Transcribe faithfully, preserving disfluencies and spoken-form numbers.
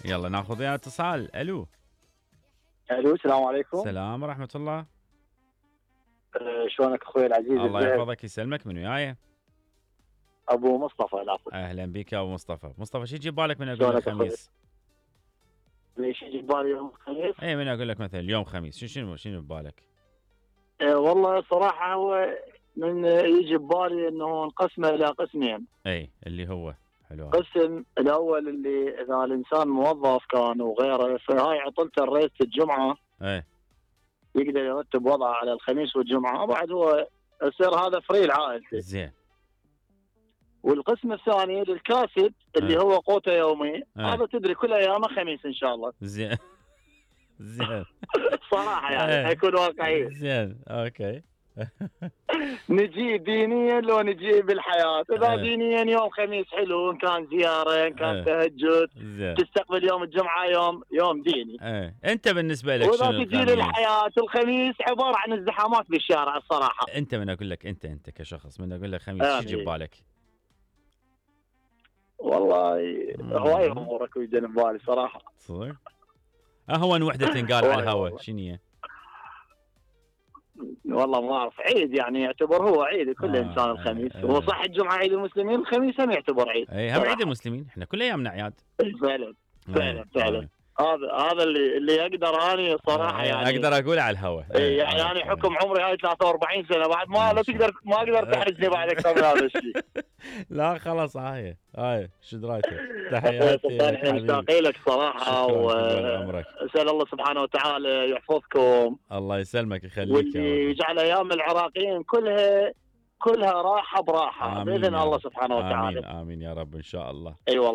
يلا ناخذ وياه اتصال. الو الو السلام عليكم. السلام ورحمه الله. أه شلونك اخوي العزيز؟ الله يحفظك يسلمك. من وياي؟ ابو مصطفى العفو. اهلا بك يا ابو مصطفى. مصطفى شو يجيب بالك من اقول لك خميس؟ ليش يجي ببالي يوم الخميس؟ اي من اقول لك مثلا اليوم خميس شو شنو شنو ببالك؟ أه والله صراحه هو من يجي ببالي انه نقسمه الى قسمين. اي اللي هو حلو. قسم الاول اللي اذا الانسان موظف كان وغيره فهاي عطلته رئيسة الجمعه. اي يقدر يرتب وضعه على الخميس والجمعه وبعد هو يصير هذا فري لعائلته. زين. والقسم الثاني للكاسب اللي أه. هو قوته يومي. أه. هذا تدري كل ايامه خميس ان شاء الله. زين زين صراحه يعني أه. حيكون واقعي. زين اوكي. نجي دينيا لو نجي بالحياه. اذا أه. دينيا يوم خميس حلو ان كان زياره ان كان أه. تهجد. زين. تستقبل يوم الجمعه يوم يوم ديني. ايه انت بالنسبه لك شنو واذا تجي للحياه الخميس عباره عن ازدحامات بالشارع الصراحه. انت من اقول لك انت انت كشخص من اقول لك خميس آه شو يجي ببالك؟ والله هواي امورك ويجن ببالي صراحه. صدق؟ اهون وحده تنقال على الهواء شنو هي؟ والله ما اعرف. عيد يعني يعتبر هو عيد كل آه انسان الخميس. آه هو صح الجمعه عيد المسلمين الخميس هم يعتبر عيد. اي هم عيد المسلمين احنا كل ايامنا اعياد. فعلا فعلا فعلا. هذا هذا اللي اللي اقدر اني صراحه يعني اقدر اقول على الهواء. اي يعني انا حكم عمري هاي ثلاثة وأربعين سنه بعد ما لا تقدر ما اقدر تحرجني بعد اكثر من هذا الشيء. لا خلاص هاي هاي شو درايتك. تحياتي احنا مشتاقين لك صراحه واسال الله سبحانه وتعالى يحفظكم. الله يسلمك يخليك واللي يجعل ايام العراقيين كلها كلها راحه براحه باذن الله سبحانه وتعالى. امين امين يا رب ان شاء الله. اي أيوة والله.